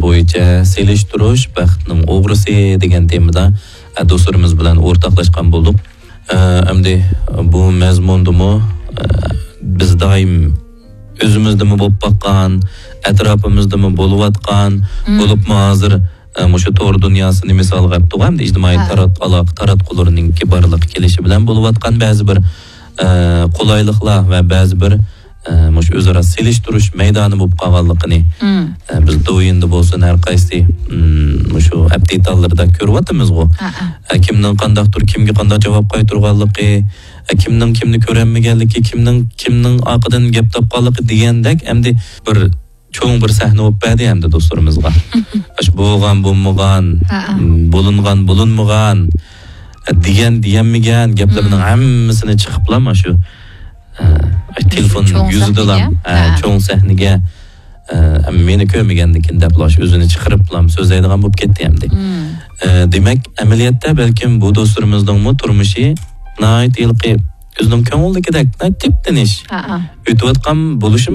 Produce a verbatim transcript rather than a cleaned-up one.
بويىچە سېلىشتۇرۇش بەختنىڭ ئوغرىسى دېگەن تېمىدا، ئە، دوستلىرىمىز بىلەن ئورتاقلاشقان بولدۇق. ئە، ئەمدى بۇ مەزمۇندىمۇ، ئە، بىز دائىم ئۆزىمىزدىمۇ بولۇپ باققان، ئەتراپىمىزدىمۇ بولۇۋاتقان، مم. بولۇپمۇ ھازىر، ئە، مۇشۇ تور دۇنياسىنى مىسالغا ئەپ تۇرغان، ئەمدى ئىجتىمائىي ھە. تارات-، ئالاقە تاراتقۇلىرىنىڭكى بارلىققا كېلىشى بىلەن بولۇۋاتقان بەزى بىر، ئە، قولايلىقلار ۋە بەزى بىر، ئە، مۇشۇ ئۆزئارا سېلىشتۇرۇش مەيدانى بولۇپ قالغانلىقىنى، مم. ئە، بىز دوۋيىندا بولسۇن، ھەر قايسى، مم، مۇشۇ ئەپ دېتاللىرىدا كۆرۈۋاتىمىزغۇ. ھە، ھە. ئە، كىمنىڭ قانداقتۇر كىمگە قانداق جاۋاب قايتۇرغانلىقى، ئە، كىمنىڭ كىمنى كۆرەلمىگەنلىكى، كىمنىڭ كىمنىڭ ئارقىدىن گەپ تاپقانلىقى دېگەندەك، ئەمدى بىر چوڭ بىر سەھنە بولۇپ بەردى ئەمدى دوستلىرىمىزغا. ئاشۇ بولغان، بولمىغان، ھە، ھە. بولۇنغان، بولۇنمىغان، دېگەن، دېگەنمىگەن گەپلەرنىڭ مم. ھەممىسىنى چىقىپلا مانا شۇ، ئە، تېلېفون چوڭ يۈزىدىلا، سەھنىگە؟ ئە، ھە. چوڭ سەھنىگە، ئە، مېنى كۆرمىگەندىكىن دەپلا شۇ ئۆزىنى چىقىرىپلا سۆزلەيدىغان بولۇپ كەتتى ئەمدى. مم. ئە، دېمەك، ئەمەلىيەتتە بەلكىم بۇ دوستلىرىمىزنىڭمۇ تۇرمۇشى ناھايىتى ھېلىقى ئۆزىنىڭ كۆڭلىدىكىدەك، ناھايىتى تىپتىنىش ھە، ھە. ئۆتۈۋاتقان بولۇشى